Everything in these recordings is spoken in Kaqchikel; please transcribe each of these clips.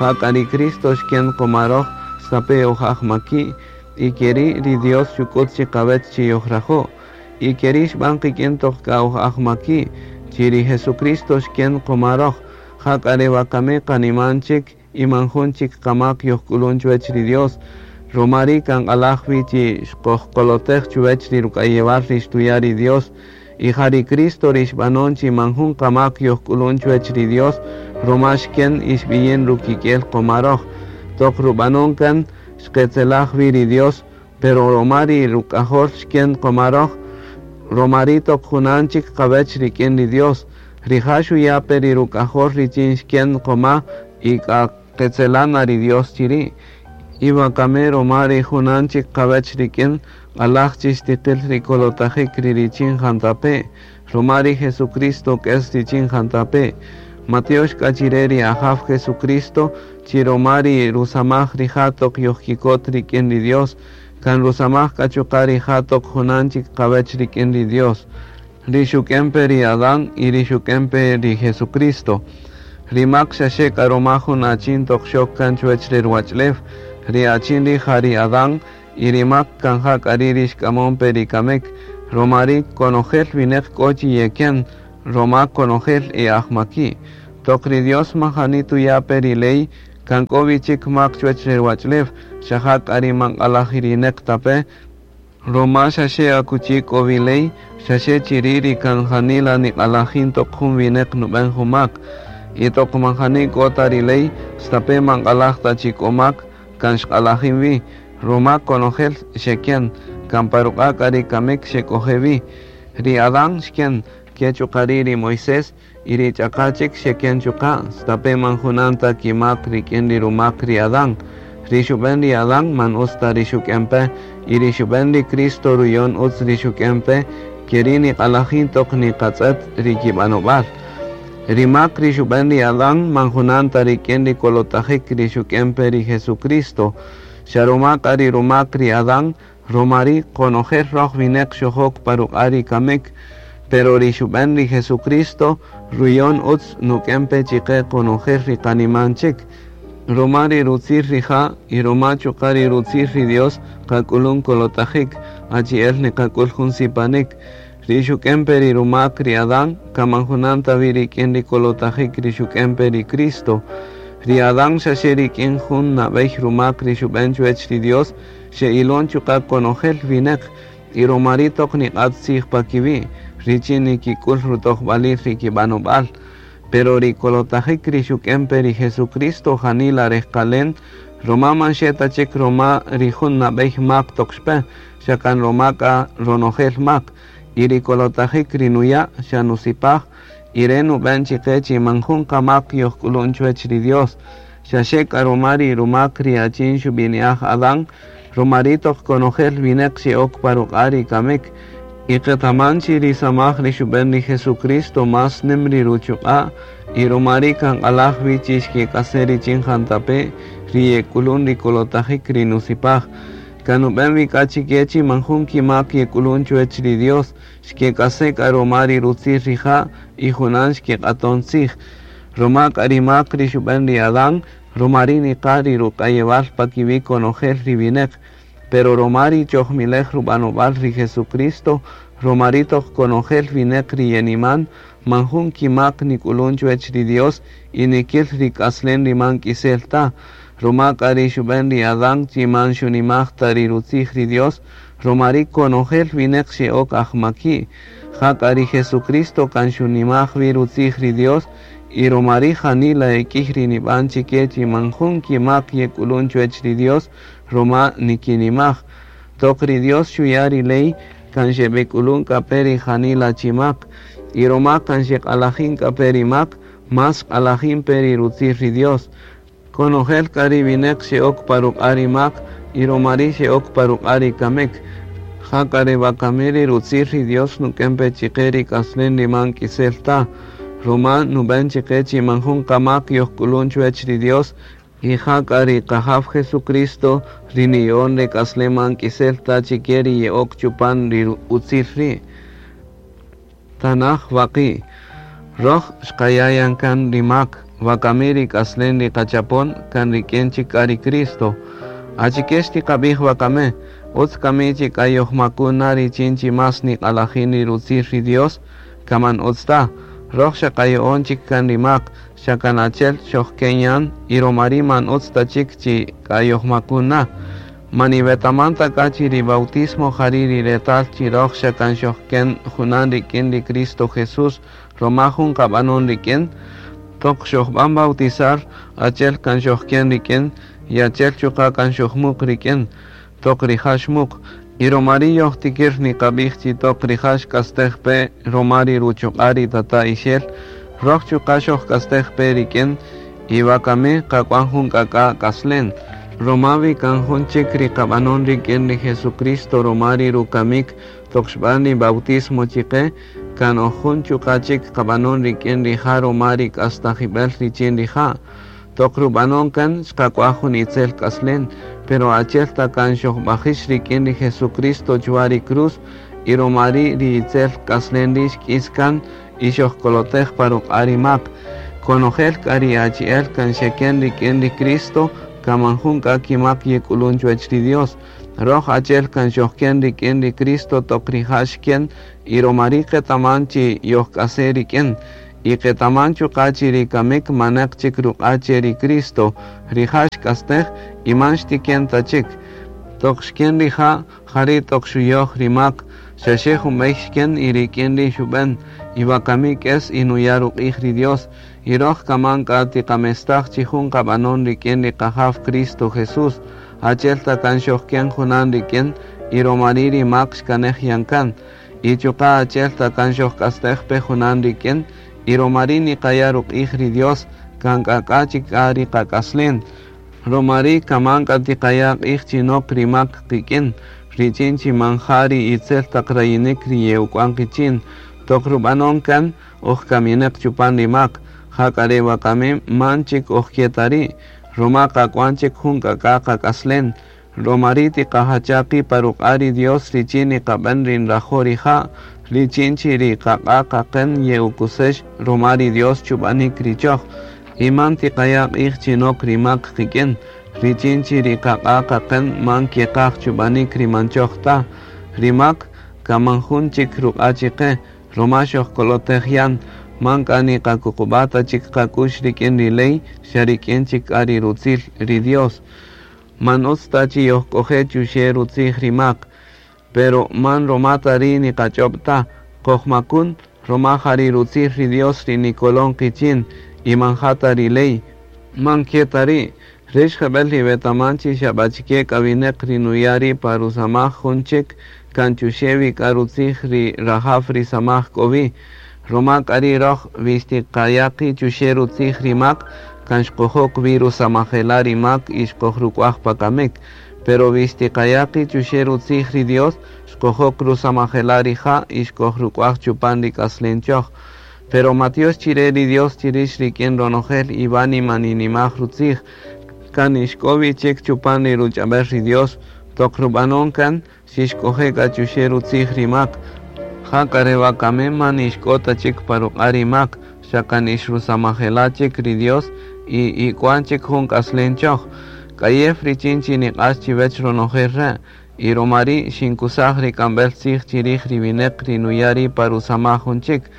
Jak'a ri Cristo xken qoma roj stape' oj ajmaki', y keri' ri Dios xuk'ut chiqawech chi yojrajo'. Y keri' xb'an qik'in toq k'a oj ajmaki', chi ri Jesucristo xken qoma roj. Jak'a re wakami qaniman chik y man jun chik qamak yojk'ulun chuwech ri Dios. Ruma ri' kan q'alaj wi chi xqojkolotej chuwech ri ruk'ayewal ri xtuya' ri Dios. Y ja ri Cristo ri xb'anon chi man jun qamak yojk'ulun chuwech ri Dios, ruma xken y xb'iyin rukik'el qoma roj. Toq rub'anon kan xqetzelaj wi ri Dios, pero ruma ri ruk'ajol xken qoma roj, ruma ri' toq junan chik qawech rik'in ri Dios. Rija' xuya' pe ri ruk'ajol richin xken qoma y k'a qetzelan na ri Dios chiri'. Y wakami ruma ri junan chik qawech rik'in, q'alaj chi xtiqil ri kolotajik ri richin jantape', ruma ri Jesucristo k'es richin jantape'. Matiox k'a chire ri Ajaw Jesucristo, chi ruma ri rusamaj rija' toq yojkikot rik'in ri Dios, kan rusamaj k'a chuqa' rija' toq junan chik qawech rik'in ri Dios. Ri xuk'en pe ri Adán y ri xuk'en pe ri Jesucristo. Ri mak xaxe k'a ruma jun achin toq xok kan chuwech re ruwach'ulew, ri achin ri' ja ri Adán, y ri mak kan ja k'a ri' ri xk'amon pe ri kamik, ruma ri' konojel wineq k'o chi yeken, ruma konojel e ajmaki'. Toq ri Dios majani tuya' pe ri ley, kan k'o wi chik mak chuwech re ruwach'ulew, xa ja k'a ri man q'alajirineq ta pe, ruma xaxe akuchi k'o wi ley, xaxe chiri' ri kan janila niq'alajin toq jun wineq nub'en jun mak. Y toq man jani k'o ta ri ley, stape' man q'alaj ta chi k'o mak, kan xq'alajin wi, ruma konojel xeken, kan pa ruq'a' k'a ri kamik xek'oje' wi. Ri Adán xken, ke chuqa' ri' ri Moisés y ri ch'aqa' chik xeken chuqa', stape' man junan ta kimak rik'in ri rumak ri Adán. Ri xub'en ri Adán man utz ta ri xuk'en pe, y ri xub'en ri Cristo ruyon utz ri xuk'en pe, keri' niq'alajin toq niqatz'et ri kib'anob'al. Ri mak ri xub'en ri Adán man junan ta rik'in ri kolotajik ri xuk'en pe ri Jesucristo. Xa ruma k'a ri rumak ri Adán, ruma ri' konojel roj wineq xojok pa ruq'a' ri kamik, pero ri xub'en ri Jesucristo ruyon utz nuk'en pe chiqe konojel ri qaniman chik. Ruma ri rutzil rija' y ruma chuqa' ri rutzil ri Dios qak'ulun kolotajik, achi'el niqak'ul jun sipanik. Ri xuk'en pe ri rumak ri Adán, kan man junan ta wi rik'in ri kolotajik ri xuk'en pe ri Cristo. Ri Adán xaxe rik'in jun nab'ey rumak ri xub'en chuwech ri Dios, xe'ilon chuqa' konojel wineq, y ruma ri' toq niq'at tzij pa kiwi', richin nikik'ul rutojb'alil ri kib'anob'al. Pero ri kolotajik ri xuk'en pe ri Jesucristo janila rejqalen, ruma man xe ta chik ruma ri jun nab'ey mak toq xpe, xa kan ruma k'a ronojel mak, y ri kolotajik ri nuya' xa nusipaj, y re' nub'en chiqe chi man jun qamak yojk'ulun chuwech ri Dios. Xaxe k'a ruma ri rumak ri achin xub'ini'aj Adán, ruma ri' toq konojel wineq xe'ok pa ruq'a' ri kamik. Y qetaman chi ri samaj ri xub'en ri Jesucristo más nim ri ruchuq'a', y ruma ri' kan q'alaj wi chi xkek'ase' richin jantape' ri yek'ulun ri kolotajik ri nusipaj. Kan nub'en wi k'a chike chi man jun kimak yek'ulun chuwech ri Dios, xkek'ase' k'a ruma ri rutzil rija' y junan xkeq'aton tzij. Ruma k'a ri mak ri xub'en ri Adán, ruma ri' niqa' ri ruk'ayewal pa kiwi' konojel ri wineq. Pero ruma ri chojmilej rub'anob'al ri Jesucristo, ruma ri' toq konojel wineq ri yeniman, man jun kimak nik'ulun chuwech ri Dios y nikil ri k'aslen ri man k'isel ta. Ruma k'a ri xub'en ri Adán chi man xunimaj ta ri rutzij ri Dios, ruma ri' konojel wineq xe'ok ajmaki'. Ja k'a ri Jesucristo kan xunimaj wi rutzij ri Dios, y ruma ri' janila ek'ïy ri nib'an chike chi man jun kimak yek'ulun chuwech ri Dios, ruma nikinimaj. Toq ri Dios xuya' ri ley, kan xeb'ek'ulun k'a pe ri janila chi mak, y ruma kan xeq'alajin k'a pe ri mak, más xq'alajin pe ri rutzil ri Dios. Konojel k'a ri wineq xe'ok pa ruq'a' ri mak, y ruma ri' xe'ok pa ruq'a' ri kamik. Ja k'a re wakami ri rutzil ri Dios nuk'en pe chiqe ri k'aslen ri man k'isel ta, ruma nub'en chiqe chi man jun qamak yojk'ulun chuwech ri Dios, y ja k'a ri Qajaw Jesucristo ri niya'on re k'aslen man k'isel ta chike ri ye'ok chupan ri utzil ri'. Tanaj waqi'. Roj xqaya' yan kan ri mak. Wakami ri k'aslen ri qachapon kan rik'in chik k'a ri Cristo. Achike xtiqab'ij wakame, utz kami chi k'a yojmakun na richin chi más niq'alajin ri rutzij ri Dios, kaman utz ta. Roj xa qayo'on chik kan ri mak, xa kan achel xojken yan, y romari man utz ta chik chi k'a yojmakun na. Man iwetaman ta k'a chi ri bautismo jari ri retal chi roj xa kan xojken junan rik'in ri Cristo Jesús, roma jun qab'anon rik'in, toq xojb'an bautizar, achel kan xojken rik'in, y achel chuqa' kan xojmuq rik'in, toq rija' xmuq. Y romari yojtikir niqab'ij chi toq rija' xk'astej pe roma ri ruchuq'a' ri tata' ixel, roj chuqa' xojk'astej pe rik'in, y wakami qak'uan jun k'ak'a' k'aslen. Roma wi kan jun chik ri qab'anon rik'in ri Jesucristo roma ri rukamik toq xb'an ri bautismo chiqe, kan oj jun chuqa' chik qab'anon rik'in rija' roma ri k'astajib'el richin rija'. Toq rub'anon kan xqak'uaj jun itzel k'aslen, pero achel ta kan xojb'ajix rik'in ri Jesucristo chwa ri cruz, y roma ri' ri itzel k'aslen ri' xk'is kan y xojkolotej pa ruq'a' ri mak. Konojel k'a ri achi'el kan xeken rik'in ri Cristo, kaman jun k'a kimak yek'ulun chuwech ri Dios. Roj achel kan xojken rik'in ri Cristo toq rija' xken, y romari qetaman chi yojk'ase' rik'in. Y qetaman chuqa' chi ri kamik manaq chik ruq'a' che ri Cristo, rija' xk'astej y man xtiken ta chik. Toq xken rija', jari' toq xuyoj ri mak, xaxe jun b'ey xken y rik'in ri xub'en, y wakami k'es y nuya' ruq'ij ri Dios. Y roj kaman k'a tiqamestaj chi jun qab'anon rik'in ri qajaw Cristo Jesús, achel ta kan xojken junan rik'in, y romari ri mak xkanej yan kan. Y chuqa' achel ta kan xojk'astej pe junan rik'in, y romari niqaya' ruq'ij ri Dios, kan k'ak'a' chik k'a ri qak'aslen. Romari kaman k'a tiqaya' q'ij chi nok ri mak qik'in, richin chi man ja ri itzel taq rayinik ri ye'uk'wan qichin. Toq rub'anon kan, oj kaminaq chupan ri mak, jak'a re wakami man chik oj ke ta ri', roma qak'uan chik jun k'ak'a' qak'aslen. Romari tiqajacha' qi' pa ruq'a' ri Dios richin niqab'an ri nrajo' rija', richin chi ri qaq'a' qaqen ye'ukusex roma ri Dios chub'anik ri choj. Y man tiqaya' q'ij chi nok ri mak qik'in, richin chi ri qaq'a' qaqen man keqaj chub'anik ri man choj ta. Ri mak kaman jun chik ruq'a' chiqe, roma xojkolotej yan, man k'a niqakuqub'a' ta chik qak'ux rik'in ri ley, xa rik'in chik k'a ri rutzil ri Dios. Man utz ta chi yojk'oje' chuxe' rutzij ri mak, pero man roma ta ri' niqach'ob' ta, qojmakun roma ja ri rutzij ri Dios ri nikolon qichin, y man ja ta ri ley. Man ke ta ri', rix jeb'el iwetaman chi xab'achike k'a winäq ri nuya' ri' pa rusamaj jun chik kan chuxe' wi k'a rutzij ri rajaw ri samaj k'o wi. Roma k'a ri' roj wi xtiqaya' qi' chuxe' rutzij ri mak, kan xqojok wi rusamajela' ri mak y xqojruk'uaj pa kamik. Pero wi xtiqaya' qi' chuxe' rutzij ri Dios, xqojok rusamajela' rija' y xqojruk'uaj chupan ri k'aslen choj. Pero matiox chire ri Dios chirix rik'in ronojel iwánima ninimaj rutzij, kan ixk'o wi chik chupan ri ruch'ab'el ri Dios, toq rub'anon kan xixk'oje' k'a chuxe' rutzij ri mak. Jak'a re wakami man ixk'o ta chik pa ruq'a' ri mak, xa kan ixrusamajela' chik ri Dios y ik'uan chik jun k'aslen choj. K'ayew richin chi niq'ax chiwech ronojel re', y romari' xinkusaj ri k'amb'el tzij chirij ri winäq ri nuya' ri' pa rusamaj jun chik.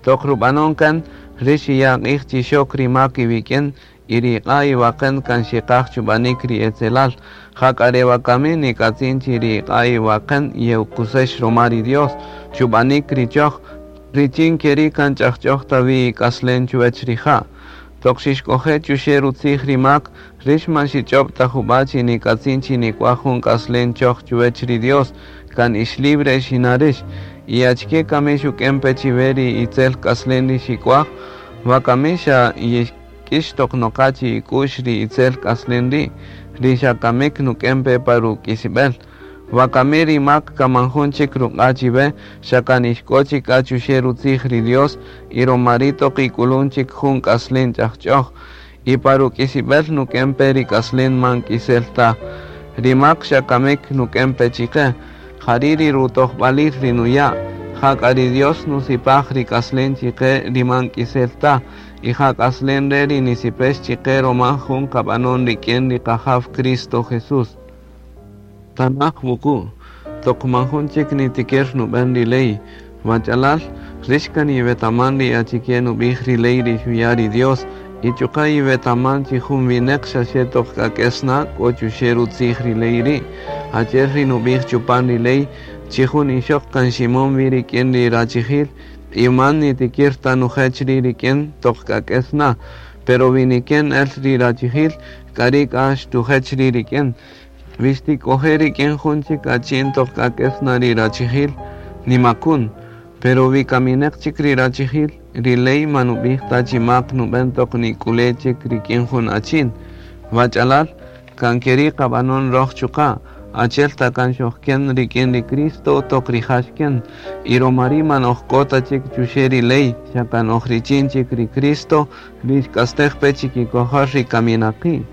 Toq rub'anon kan, rix xiya' q'ij chi xok ri mak iwik'in, y ri iq'a' iwaqen kan xeqaj chub'anik ri etzelal. Jak'a re wakami nik'atzin chi ri iq'a' iwaqen ye'ukusex roma ri Dios, chub'anik ri choj, richin keri' kan ch'ajch'oj ta wi ik'aslen chuwech rija'. Toq xixk'oje' chuxe' rutzij ri mak, rix man xich'ob' ta jub'a' chi nik'atzin chi nik'uaj jun k'aslen choj chuwech ri Dios, kan ix libre xina rix. Y achike kami xuk'en pe chiwe ri itzel k'aslen ri xik'uaj, wakami xa yixk'ix toq noqa chi ik'u'x ri itzel k'aslen ri', ri xa kamik nuk'en pe pa ruk'isib'el. Wakami ri mak kaman jun chik ruq'a' chiwe, xa kan ixk'o chik k'a chuxe' rutzij ri Dios, y romari toq ik'ulun chik jun k'aslen ch'ajch'oj. Y pa ruk'isib'el nuk'en pe ri k'aslen man k'isel ta. Ri mak xa kamik nuk'en pe chiqe, jari' ri rutojb'alil ri nuya', jak'a ri Dios nusipaj ri k'aslen chiqe ri man k'isel ta, Y ja k'aslen re' ri nisipex chiqe roma jun qab'anon rik'in ri Qajaw Cristo Jesús. Tanaj wuqu', toq man jun chik nitikir nub'än ri ley. Wach'alal, rix kan iwetaman ri achike nub'ij ri ley ri xuya' ri Dios, y chuqa' iwetaman chi jun wineq xaxe toq k'a k'es na k'o chuxe' rutzij ri ley ri'. Achi'el ri nub'ij chupan ri ley, chi jun ixoq kan ximon wi rik'in ri rachijil, y man nitikir ta nujech ri' rik'in toq k'a k'es na. Pero wi niken el ri rachijil, k'ari' k'a xtujech ri' rik'in. Wi xtik'oje' rik'in jun chik achin toq k'a k'es na ri rachijil, nimakun. Pero wi kamineq chik ri rachijil, ri ley man nub'ij ta chi mak nub'än toq nik'ule' chik rik'in jun achin. Wach'alal, kan keri' qab'anon roj chuqa', achi'el ta kan xojken rik'in ri Cristo toq rija' xken, y roma ri' man oj k'o ta chik chuxe' ri ley, xa kan oj richin chik ri Cristo ri xk'astej pe chikikojol ri kaminaqi'.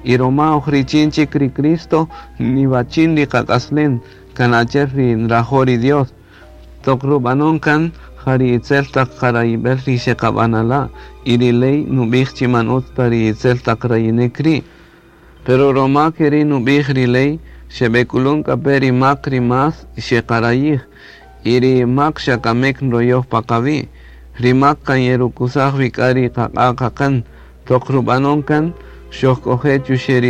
Y roma oj richin chik ri Cristo, niwachin ri qak'aslen, kan achi'el ri nrajo' ri Dios. Toq rub'anon kan, ja ri itzel taq qarayib'el ri xeqab'anala', y ri ley nub'ij chi man utz ta ri itzel taq rayinik ri'. Pero roma keri' nub'ij ri ley, xeb'ek'ulun k'a pe ri mak ri más xeqarayij, y ri mak xa kamik nroyoj pa qawi'. Ri mak kan yerukusaj wi k'a ri qaq'a' qaqän. Toq rub'anon kan, xojk'oje' chuxe' ri.